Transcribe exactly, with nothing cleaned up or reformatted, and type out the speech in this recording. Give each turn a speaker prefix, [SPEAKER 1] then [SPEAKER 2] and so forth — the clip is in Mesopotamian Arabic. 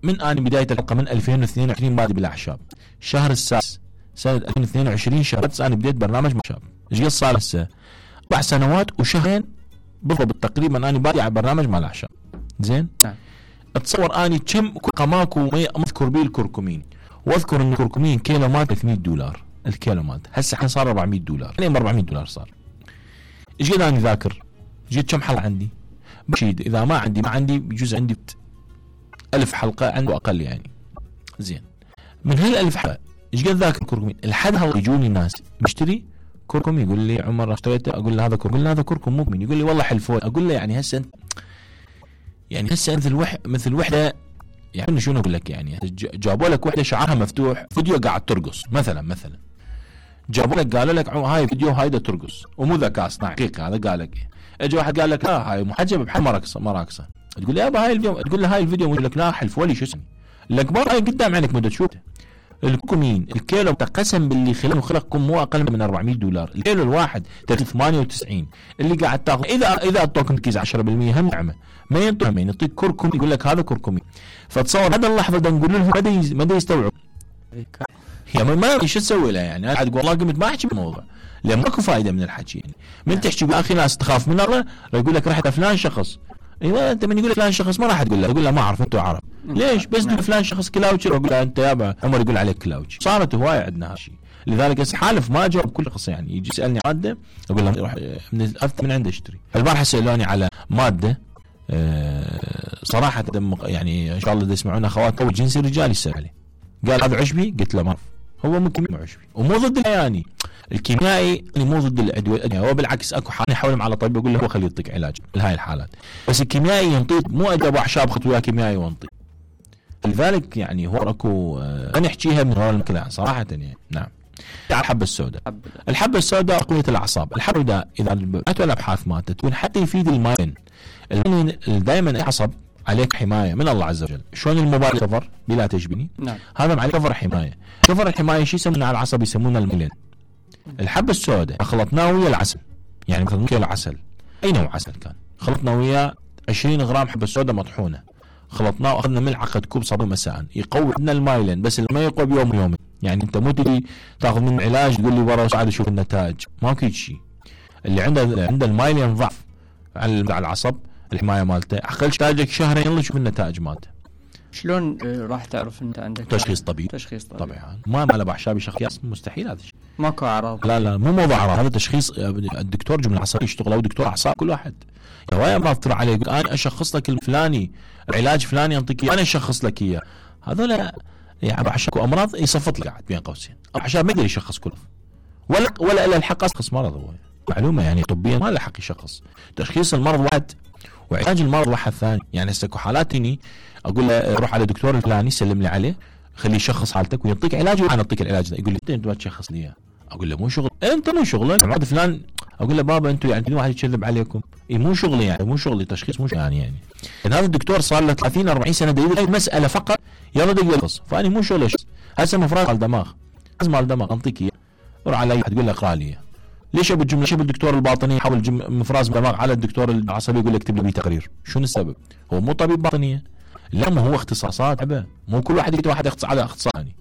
[SPEAKER 1] من أنا بداية الحلقة من ألفين واثنين وعشرين بادي بالأعشاب، شهر السادس سنة ألفين واثنين وعشرين شهر السادس أنا بديت برنامج أعشاب. إيش قد صار هسه؟ أربع سنوات وشهرين بالضبط تقريبا أنا بادي على برنامج مع الأعشاب. زين؟
[SPEAKER 2] نعم.
[SPEAKER 1] أتصور أني كم قماكو ما أذكر بيه الكركمين، وأذكر إن الكركمين كيلو مات ثلاثمية دولار الكيلو مات، هسه الحين صار أربعمية دولار، يعني أربعمية دولار صار. إيش قد أنا ذاكر؟ جيت كم حلقة عندي؟ بشيد إذا ما عندي ما عندي بجوز عندي ألف حلقة عنده أقل يعني. زين، من هالألف حلقة إيش قد ذاكر كركمين؟ لحد هلا يجوني ناس بشتري كركم يقول لي عمر اشتريته، أقول له هذا كركم، أقول له هذا كركم مو من، يقول لي والله حلفون، أقول له يعني هسه أنت يعني هسه مثل وح مثل وحدة يعني شنو أقول لك، يعني جابوا لك وحدة شعرها مفتوح فيديو قاعد ترقص مثلا مثلا جابوا لك قالوا لك هاي فيديو هاي دا ترقص ومو ذكاء اصطناعي حقيقة، هذا قال لك. اجى واحد قال لك لا هاي محجبة بحال مراقصة مراقصة، تقول لي يابا هاي الفيديو، تقول له هاي الفيديو، يقول لك لا حلف ولي شو اسمي الكبار هاي قدام عينك مدة تشوفه. الكمين الكيلو قسم باللي خلقه خلقكم مو اقل من أربعمية دولار الكيلو الواحد، ثمانية وتسعين اللي قاعد تاخذ. اذا اذا اعطوك تركيز عشرة بالمية هم نعمه، ما ينطق ما يعطيك كركم يقول لك هذا كركمي. فتصور هذا اللحظه ده نقول لهم ما دا يستوعب يعني ما شو تسوي له يعني. انا والله قمت ما احكي بالموضوع لان ماكو فائده من الحكي يعني. من تحكي باخي ناس تخاف من الله يقول لك رحت فلان شخص، ايوه انت من يقول لك فلان شخص ما راح تقول له، تقول له ما اعرف انتوا عرب ليش بس نعم. فلان شخص كلاوتشي، اقول له انت يابا عمر يقول عليك كلاوتشي. صارت هوايه عندنا هالشيء، لذلك حالف ما اجاوب كل شخص يعني يجي يسالني ماده اقول له روح من من عنده اشتري. البارحه سالوني على ماده أه صراحه يعني ان شاء الله يسمعونا اخوات او جنسي رجال يسال عليه، قال هذا عشبي؟ قلت له ما هو مو كيميائي عشبي ومو ضد يعني الكيميائي اللي مو ضد الادويه، هو بالعكس اكو حال يحاولهم على طبيب يقول له هو خليه يعطيك علاج لهاي الحالات، بس الكيميائي ينطيك مو ادويه اعشاب خذ وياه كيميائي وانطي. لذلك يعني هو اكو أه نحكيها من هون المكان صراحه يعني. نعم. على الحبه السوداء، الحبه السوداء تقويه الاعصاب. الحبه السوداء اذا اتوا الابحاث مالته تكون حتى يفيد الماين، الماين دائما العصب عليك حمايه من الله عز وجل. شلون الموبايل كفر بلا تشبيني؟ نعم. هذا عليه كفر حمايه، كفر الحمايه شو يسمونه على العصب؟ يسمونه الميلين. الحبه السوداء خلطناه ويا العسل، يعني مثلا كيلو عسل اي نوع عسل كان، خلطنا وياه عشرين غرام حبه سوداء مطحونه، خلطناه واخذنا ملعقه كوب صابون مساء، يقوي لنا المايلين، بس ما يقوي بيوم ويومين. يعني انت مو تجي تاخذ من علاج تقول لي ورا وساعد اشوف النتائج، ماكو شيء. اللي عنده عنده المايلين ضعف على العصب الحمايه مالته، اقل تاجك شهرين يلا شوف النتائج مالته.
[SPEAKER 2] شلون راح تعرف انت عندك
[SPEAKER 1] تشخيص طبيب؟
[SPEAKER 2] تشخيص طبيب
[SPEAKER 1] طبعا ما مال باعشاب شخص مستحيل هذا الشيء،
[SPEAKER 2] ماكو اعراض.
[SPEAKER 1] لا لا مو موضوع اعراض، هذا تشخيص الدكتور جمله عصبيه يشتغل او دكتور اعصاب كل واحد. هوايه امراض تطلع عليه يقول انا اشخص لك الفلاني العلاج فلاني انطيك انا اشخص لك اياه، هذول يعني باعشاب وامراض يصفط لك قاعد بين قوسين، باعشاب ما يقدر يشخص كله ولا ولا الا الحق يشخص مرض. هو معلومه يعني طبيا ما له حق يشخص، تشخيص المرض واحد وعلاج المرض واحد ثاني. يعني هسه حالات هني اقول له روح على دكتور الفلاني سلم لي عليه خليه يشخص حالتك ويعطيك علاج وانا اعطيك العلاج ده. يقول لي انت ما تشخص لي اياه، اقول له مو شغل انت مو شغلك مرض فلان، اقول له بابا انتم يعني في واحد يكذب عليكم، اي مو شغلي يعني مو شغلي تشخيص مو يعني يعني هذا الدكتور صار له ثلاثين أربعين سنه دليل هاي المساله فقط يلا دق يخص، فاني مو شغلي هسه مفرغ على الدماغ لازم على الدماغ انطيك اياه روح على اي واحد تقول له اقرا لي. ليش ابو الجمله؟ ليش ابو الدكتور الباطني يحول مفراز دماغ على الدكتور العصبي يقول لك اكتب لي تقرير؟ شنو السبب؟ هو مو طبيب باطنيه؟ لا ما هو اختصاصات عبه، مو كل واحد يكتب واحد يختص على اختصاصي.